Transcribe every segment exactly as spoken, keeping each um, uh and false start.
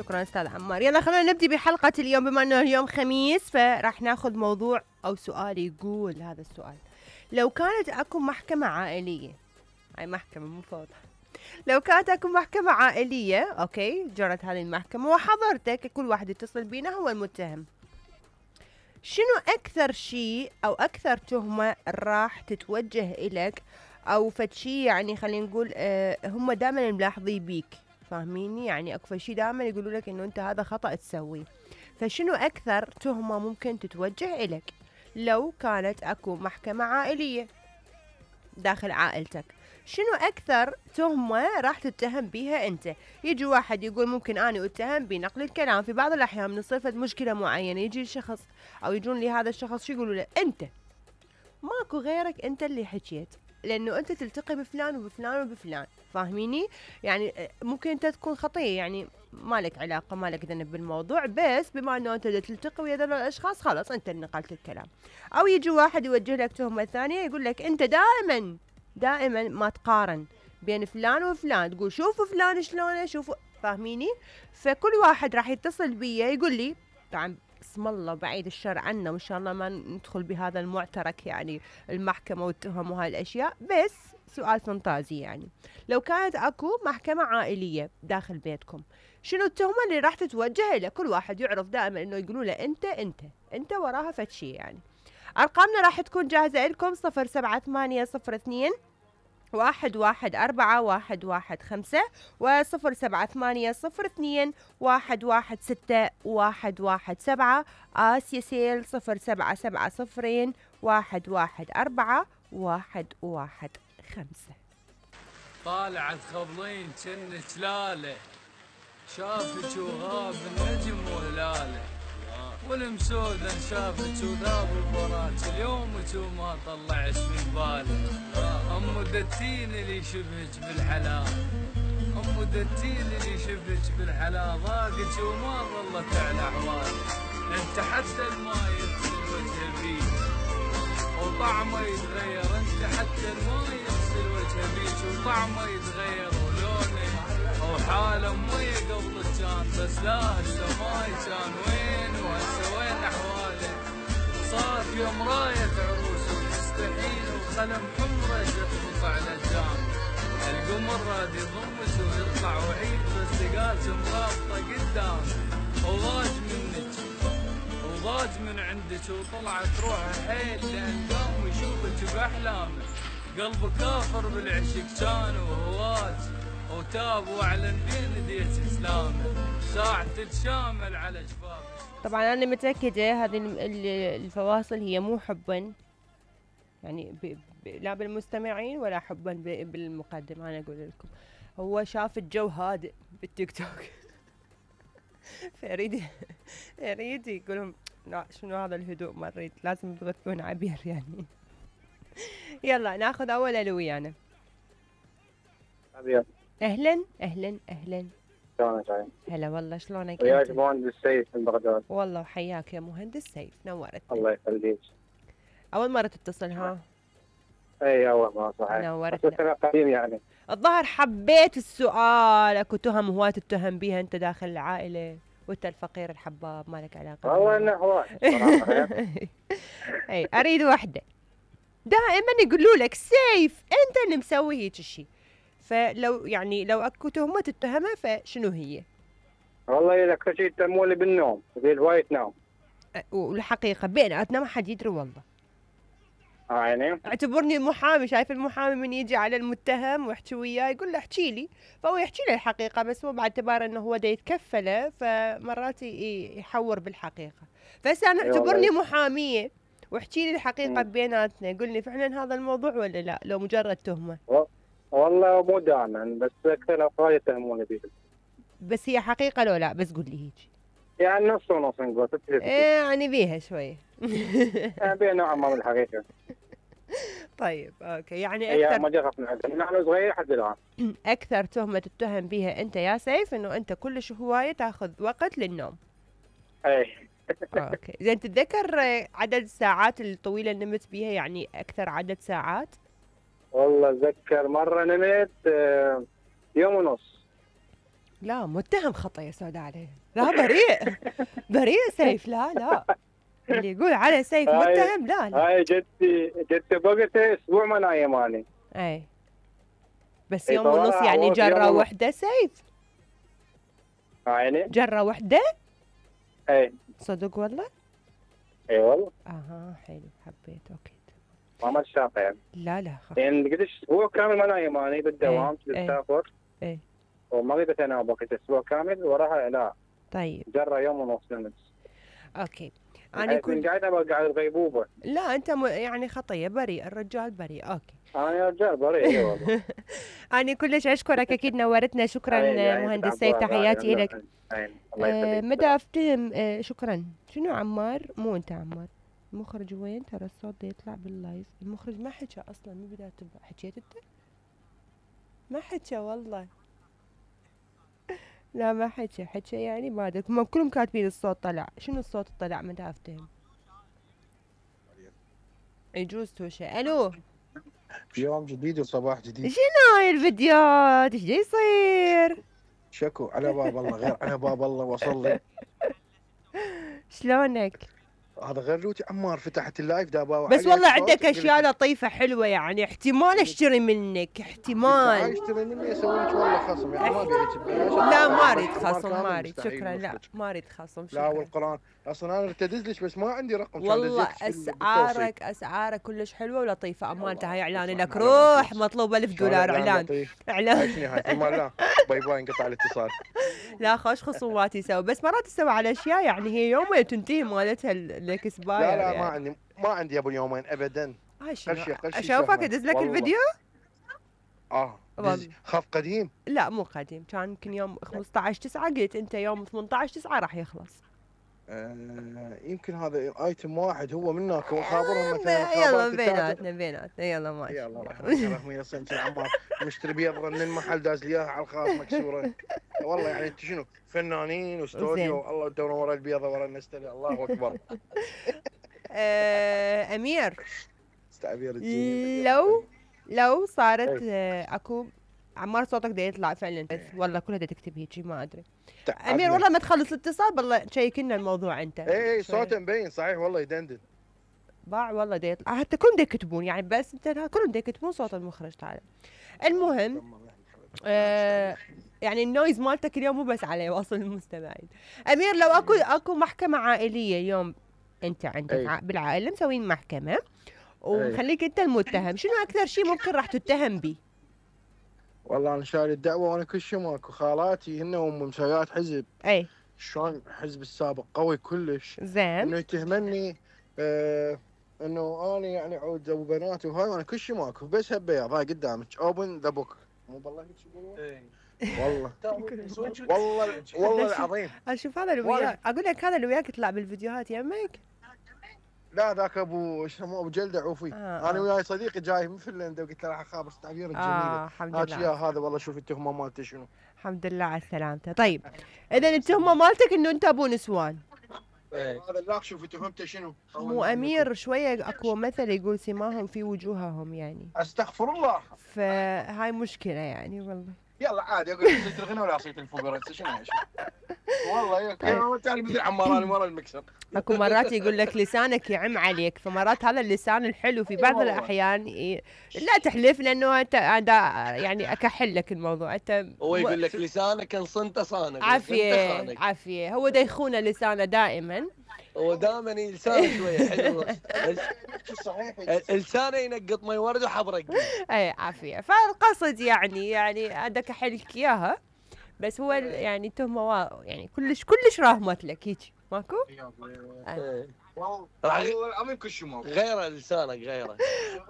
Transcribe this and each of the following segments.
شكرا أستاذ عمار. يلا خلونا نبدي بحلقة اليوم، بما أنه اليوم خميس فراح ناخذ موضوع أو سؤال. يقول هذا السؤال: لو كانت أكو محكمة عائلية، هاي محكمة مو فوضى، لو كانت أكو محكمة عائلية أوكي جرت هذه المحكمة وحضرتك كل واحد يتصل بينا هو المتهم، شنو أكثر شيء أو أكثر تهمة راح تتوجه إلك أو فد شيء يعني خلينا نقول آه هم دائما ملاحظين بيك، فاهميني؟ يعني أكثر شيء دائما يقولوا لك إنه أنت هذا خطأ تسويه، فشنو أكثر تهمة ممكن تتوجه إلك لو كانت أكو محكمة عائلية داخل عائلتك؟ شنو أكثر تهمة راح تتهم بيها أنت؟ يجي واحد يقول ممكن أنا أتهم بنقل الكلام، في بعض الأحيان من تصير مشكلة معينة يجي الشخص أو يجون لهذا الشخص شو يقولوا له؟ أنت ماكو غيرك، أنت اللي حكيت، لأنه أنت تلتقي بفلان وبفلان وبفلان، فاهميني؟ يعني ممكن أنت تكون خطية، يعني مالك علاقة مالك ذنب بالموضوع، بس بما أنه أنت تلتقي ويا ذول الأشخاص خلاص أنت اللي نقلت الكلام. أو يجي واحد يوجه لك تهمة ثانية يقول لك أنت دائما دائما ما تقارن بين فلان وفلان، تقول شوفوا فلان شلونه شوفوا، فاهميني؟ فكل واحد راح يتصل بي يقول لي، طبعا اسم الله بعيد الشر عنا وان شاء الله ما ندخل بهذا المعترك يعني المحكمة والتهم وهاي الاشياء، بس سؤال فانتازي يعني لو كانت اكو محكمة عائلية داخل بيتكم شنو التهمة اللي راح تتوجه له؟ كل واحد يعرف دائما انه يقولوا له انت انت انت وراها فد شي يعني. ارقامنا راح تكون جاهزة لكم صفر سبعة ثمانية صفر اثنين واحد واحد أربعة واحد واحد خمسة وصفر سبعة ثمانية صفر اثنين واحد واحد ستة واحد واحد سبعة. آسيا سيل صفر سبعة سبعة صفرين واحد واحد أربعة واحد واحد خمسة. طالعت خبلين جنة جلالة، شافك وغاب النجم وهلاله، والمسودة شافك وذاب الفراج، اليومك وما طلعش من باله. أم دتين اللي شبهك بالحلال، أم دتين اللي شبهك بالحلال، ضاقك وما ظلت على أحوالك، انت حتى الماي يغسل وجه بيك وطعمه يتغير، انت حتى الماي يغسل وجه بيك وطعمه يتغير ولونه وحاله مي قبل كان، بس لا هسه ماي كان وين وهسه وين احواله، صار يوم راية عروس وتستحيل وخلم حمره تخبط على الجان، القمر راد يضمس ويطلع وعيد بس قالت مرابطه قدام، وضاج منك وضاج من عندك وطلعت روحه حيل لان قام ويشوفك باحلامه، قلبه كافر بالعشق كان وهواج وتاب واعلن بين ديت اسلامه، ساعة تتشامل على شبابه. طبعا انا متاكده هذه الفواصل هي مو حبا يعني ب... ب... لا بالمستمعين ولا حبا ب... بالمقدم، انا اقول لكم هو شاف الجو هادئ بالتيك توك فيريد يريد يقولهم لا شنو هذا الهدوء مريت، لازم تغثون عبير يعني. يلا ناخذ اول الو ويانا. عبير اهلا اهلا اهلا. شلونك عين؟ هلا والله شلونك؟ وياك مهندس سيف من بغداد. والله وحياك يا مهندس سيف، نورتنا. الله يخليك. اول مرة تتصل ها؟ اي اول مرة صحيح. نورتنا. بس انا قديم يعني. الظاهر حبيت السؤال، اكو تهم هواي تتهم بيها انت داخل العائلة وانت الفقير الحباب ما لك علاقة. والله انه هواي صراحة. اي اريد وحدة. دائما يقولوا لك سيف انت اللي مسوي هيك الشيء، فلو يعني لو اكو تهمة تتهمها فشنو هي؟ والله اذا اكثر شيء يتهموني بالنوم، في هواي تنام. والحقيقة بيناتنا ما حد يدري والله. اه يعني اعتبرني محامي، شايف المحامي من يجي على المتهم ويحكي وياه يقول له احكي لي، فهو يحكي له الحقيقة بس هو باعتبار انه هو دا يتكفله فمرات يحور بالحقيقة، فهسه انا اعتبرني محامية واحكي لي الحقيقة بيناتنا، يقول لي فعلا هذا الموضوع ولا لا لو مجرد تهمة؟ والله مو دائما بس اكثر الاوقات يتهموني بيه. بس هي حقيقة لو لا؟ بس قول لي هيك. يعني نص ونص نقول. ايه يعني بيها شوية. يعني بيها نوعا ما من الحقيقة. طيب اوكي يعني اكثر. هي ما جربت من نحن صغير لحد الان. اكثر تهمة تتهم بيها انت يا سيف انه انت كلش هواية تاخذ وقت للنوم. اي. اوكي زين تتذكر عدد الساعات الطويلة اللي نمت بيها، يعني اكثر عدد ساعات؟ والله اتذكر مرة نمت يوم ونص. لا متهم خطأ يا سوداء عليه. لا بريء. بريء سيف. لا لا اللي يقول على سيف هاي- متهم لا لا. هاي جدتي جدتي بقتي اسبوع ما نايم اني. اي بس إي يوم ونص طبعاً يعني عوض جرة يوم ونص. وحدة سيف. عيني. جرة وحدة اي صدق والله. اي والله اها حلو حبيت اوكي. ما ما شاقه يعني. لا لا خ... يعني قديش اسبوع كامل ما نايم اني بالدوام إيه، إيه. تسافر. إيه. وما قدرت انام بقيت اسبوع كامل وراها لا طيب جرة يوم ونص نمت. اوكي. انا انا كنت كل قاعد ابقى قاعد الغيبوبه. لا انت م... يعني خطيه بريء الرجال بريء اوكي. انا يا رجال بريء اي والله. انا كلش اشكرك اكيد نورتنا شكرا عيني- عيني مهندس تتعبوا سيف تحياتي عيني. لك. عيني. الله آه يخليك. مدى افتهم آه شكرا. شنو عمار؟ مو انت عمار. المخرج وين؟ ترى الصوت ده يطلع باللايف. المخرج ما حكى اصلا من بدايه تبع. حكيت انت؟ ما حكى والله. لا ما حكى حكى يعني ما ادري هم كلهم كاتبين الصوت طلع. شنو الصوت طلع مدى افتهم؟ يجوز توشي. الو في يوم جديد وصباح جديد. شنو هاي الفيديوهات؟ ايش جاي يصير؟ شكو على باب الله غير على باب الله وصل لي. شلونك؟ هذا غير روتي عمار فتحت اللايف دابا. بس والله عندك اشياء لطيفه حلوه يعني احتمال اشتري منك احتمال. اشتري مني اسوي لك والله خصم يعني ما بيعك ببلاش. لا ما اريد عمار خصم كامل ما اريد مستحيل شكرا. لا نخرج. ما اريد خصم لا شكرا. والقران اصلا انا ارتدز لك بس ما عندي رقم. كان والله دزيت في ال- بالتوصيل. اسعارك اسعارك كلش حلوه ولطيفه. امانتها هاي اعلان والله لك على روح ما مطلوب ألف شلون دولار إعلان اعلان لطيف؟ اعلان. عيشني هاي ثم لا باي باي انقطع الاتصال. لا خوش خصومات يسوي بس مرات تسوي على اشياء يعني هي يومين تنتهي مالتها الاكسباير. لا لا يعني. ما عندي ما عندي ابو يومين ابدا. هاي شنو؟ قرشي قرشي اشوفك شهرين. ادز لك والله. الفيديو؟ اه والله. دز- خاف قديم. لا مو قديم كان يمكن يوم خمسة عشر تسعة قلت انت يوم ثمانية عشر تسعة راح يخلص. آه يمكن هذا ايتم واحد هو منك وخابرهم مثلا يلا خابرات التاجر. بيناتنا بيناتنا يلا ماشي. يلا رحمة رحمة صنت عمار مشتري بيض من المحل داز لي اياها على الخاص مكسوره. والله يعني انت شنو فنانين واستوديو الله الدور ورا البيضه ورا النستله الله اكبر. آه امير تعبير الجميل. لو لو صارت إيه. آه اكو عمار صوتك ده يطلع فعلا بس والله كلها ده تكتب هيجي ما ادري. تعبنا. امير والله ما تخلص الاتصال بالله شيك لنا الموضوع انت. اي اي شوي. صوته مبين صحيح والله يدندن. باع والله ده يطلع حتى كلهم ده يكتبون يعني بس انت كلهم ده يكتبون صوت المخرج تعالى. المهم آه يعني النويز مالتك اليوم مو بس عليه واصل المستمعين. امير لو اكو اكو محكمه عائليه اليوم انت عندك أي. ع- بالعائله مسوين محكمه ومخليك انت المتهم شنو اكثر شيء ممكن راح تتهم به؟ والله انا شايل الدعوه وانا كل شيء ماكو. خالاتي هن ام مسويات حزب. اي شلون حزب السابق قوي كلش. زين انه يتهمني آه انه انا يعني عود ابو بنات وهاي وانا كل شيء ماكو بس هالبياض هاي قدامك اوبن ذا بوك. مو بالله هيك يقولون؟ والله والله والله العظيم. اشوف هذا اللي والله. وياك اقول لك هذا اللي وياك يطلع بالفيديوهات يمك. لا ذاك ابو ايش يسموه ابو جلده عوفي. آه، انا آه. وياي صديقي جاي من فنلندا وقلت له راح اخابر تعبير الجميله. اه الحمد هات يا لله هذا والله شوف التهمه مالته شنو. الحمد لله على سلامته. طيب اذا التهمه مالتك انه انت ابو نسوان. هذا اللاخ شوف تهمته شنو. مو امير شويه اكو مثل يقول سماهم في وجوههم يعني استغفر الله. فهاي مشكله يعني والله. يلا عادي اقول صيت الغنى ولا صيت الفقراء شنو هاي والله يا تعال مثل عمار انا ورا المكسر. اكو مرات يقول لك لسانك يعم عليك فمرات هذا اللسان الحلو في بعض والله. الاحيان ي... لا تحلف لانه انت أنا يعني اكحل لك الموضوع انت هو يقول لك لسانك انصنت صانك عافيه عافيه هو ده يخونه لسانه دائما. هو دائما لسانه شويه حلو. صحيح لسانه ينقط مي ورد وحبرق. اي عافيه فالقصد يعني يعني هذا كحلك اياها بس هو ال- يعني تهمه وا- يعني كلش كلش راهمت لك هيك ماكو؟ إيه. راح العظيم كل شيء ماكو. غيره لسانك غيره.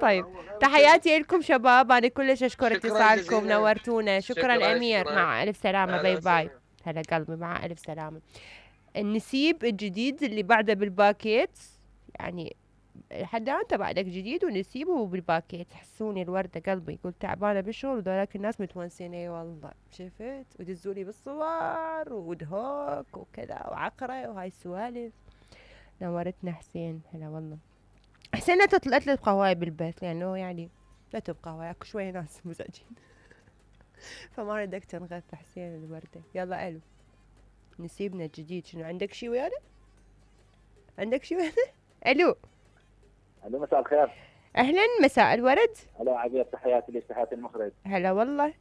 طيب تحياتي لكم شباب انا كلش اشكر شكراً اتصالكم جزيلاً. نورتونا شكرا, شكراً، امير شكراً. مع الف سلامه أهلا باي باي. وسهلا. هلا قلبي مع الف سلامه. النسيب الجديد اللي بعده بالباكيت يعني حتى انت بعدك جديد ونسيبه بالباكيت حسوني الورده قلبي يقول تعبانه بالشغل وذولاك الناس متونسين اي والله شفت ودزولي بالصور ودهوك وكذا وعقره وهاي السوالف. نورتنا حسين هلا والله. حسين لا تطلع لا تبقى هواي بالبيت لانه يعني لا تبقى هواي اكو شويه ناس مزعجين. فما ردك تنغث حسين الوردة. يلا ألو نسيبنا الجديد، شنو عندك شي ويانا؟ عندك شي ويانا؟ ألو الو مساء الخير. أهلا مساء الورد. الو عبير، تحياتي لك تحياتي المخرج. هلا والله.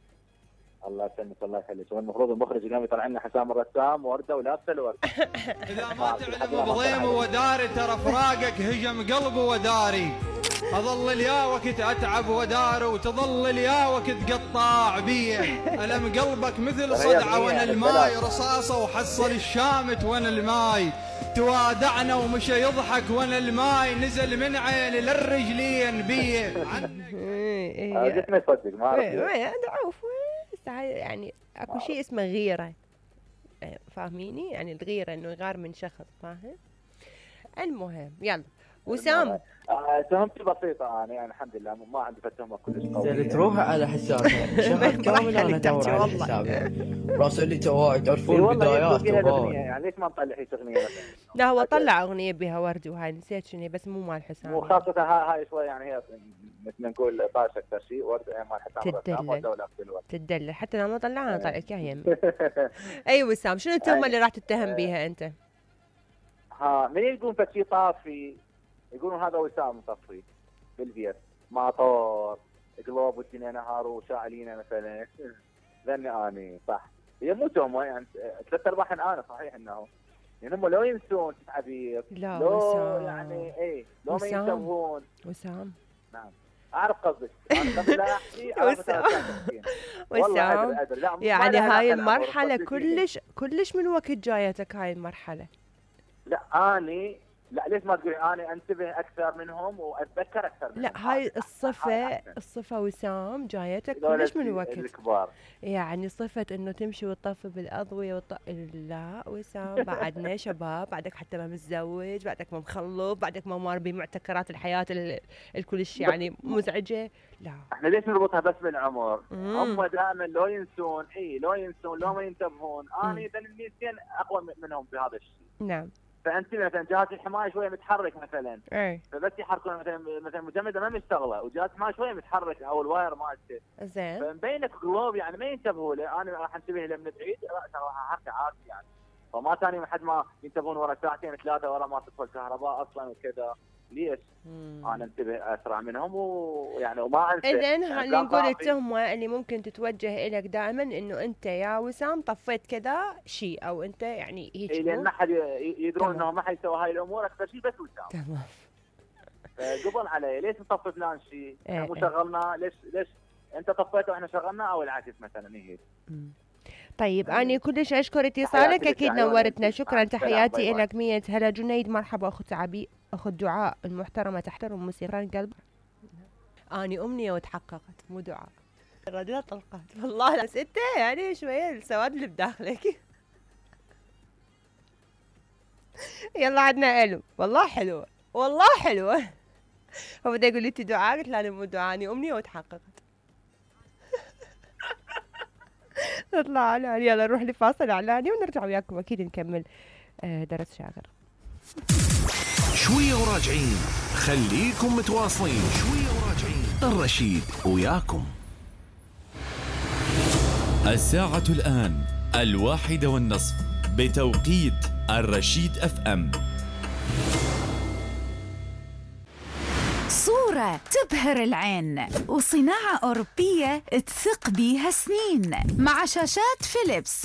الله يسلمك الله يخليك. هو المفروض المخرج اليوم يطلع لنا حسام الرسام ورده ولابسه الورد. اذا ما تعلم بضيم وداري ترى فراقك هجم قلبي وداري، اظل اليا وقت اتعب وداري وتظل اليا وقت تقطع بيه، الم قلبك مثل صدعه وانا الماي رصاصه وحصل الشامت وانا الماي، توادعنا ومشى يضحك وانا الماي نزل من عيني للرجلين بيه. قلت ما يصدق ما اعرف. عوف يعني اكو شيء اسمه غيره، فاهميني؟ يعني الغيره انه يغار من شخص، فاهم؟ المهم يلا وسام. آه تهمتي بسيطه انا يعني الحمد لله ما عندي تهمه كلش قويه. تروح على حسابها شهر كامل انا ادور على حسابها راسل لي تعرفون بدايات يعني ليش ما نطلع هيك اغنيه مثلا؟ لا هو طلع اغنيه بها ورد وهاي نسيت شنو بس مو مال حسام، وخاصه هاي شوي يعني هي مثل ما نقول طاش اكثر شيء ورد مال حسام تدلل تدلل حتى لما طلعها انا طلعت اياها يمي. اي وسام شنو التهمه اللي راح تتهم بيها انت؟ ها من يقولون فشي طافي يقولون هذا وسام مطفي بالبيت ماطور قلوب والدنيا نهار وشاعلينا مثلا. ذني اني صح هي مو تهمه يعني ثلاث ارباع انا صحيح انه يعني هم لو ينسون عبير لا لو وسام يعني اي لو ما ينتبهون. وسام نعم اعرف قصدك انا قبل لا احكي وسام وسام يعني هاي المرحله كلش كلش من وقت جايتك هاي المرحله؟ لا اني لا ليش ما تقولي انا انتبه اكثر منهم واتذكر اكثر منهم. لا هاي الصفه الصفه وسام جايتك كلش من وقت الكبار، يعني صفه انه تمشي وتطفي بالاضويه وط... لا وسام بعدنا شباب، بعدك حتى ما متزوج، بعدك ما مخلف، بعدك ما مار بمعتكرات الحياه ال... الكلش يعني مزعجه. لا احنا ليش نربطها بس بالعمر؟ هم دائما لو ينسون اي لو ينسون لو ما ينتبهون انا اذا النسيان اقوى منهم بهذا الشيء. نعم فانت مثلا جهاز الحمايه شويه متحرك مثلا اي فبس يحركون مثلا مثلا مجمده ما مشتغله وجهاز الحمايه شويه متحرك او الواير مالته زين فمبينك قلوب يعني ما ينتبهوا له. انا راح انتبه له من بعيد راح احركه عادي يعني فما ثاني لحد ما ينتبهون ورا ساعتين ثلاثه ورا ما تدخل الكهرباء اصلا وكذا. ليش؟ مم. انا انتبه اسرع منهم ويعني وما انسى. اذن خلينا نقول التهمه اللي ممكن تتوجه اليك دائما انه انت يا وسام طفيت كذا شيء او انت يعني هيك إيه لان ما حد يدرون انه ما حد يسوي هاي الامور اكثر شيء بس وسام. تمام قبل علي ليش نطفي فلان شيء؟ ايه مو شغلنا ليش ليش انت طفيته واحنا شغلنا او العكس مثلا هيك. طيب أنا كلش أشكر اتصالك أكيد نورتنا شكرا تحياتي لك مية هلا جنيد مرحبا أخت عبي أخت دعاء المحترمة تحترم موسيقى قلب. أني أمنية وتحققت مو دعاء الرجل طلقت والله بس أنت يعني شوية السواد اللي بداخلك. يلا عدنا ألو والله حلوة والله حلوة. هو بدا يقول لي أنت دعاء قلت له أنا مو دعاء أني أمنية وتحققت. نطلع اعلان يلا نروح لفاصل اعلاني ونرجع وياكم اكيد نكمل درس شاغر. شويه وراجعين خليكم متواصلين شويه وراجعين الرشيد وياكم. الساعة الآن الواحدة والنصف بتوقيت الرشيد اف ام. صورة تبهر العين وصناعة أوروبية تثق بيها سنين مع شاشات فيليبس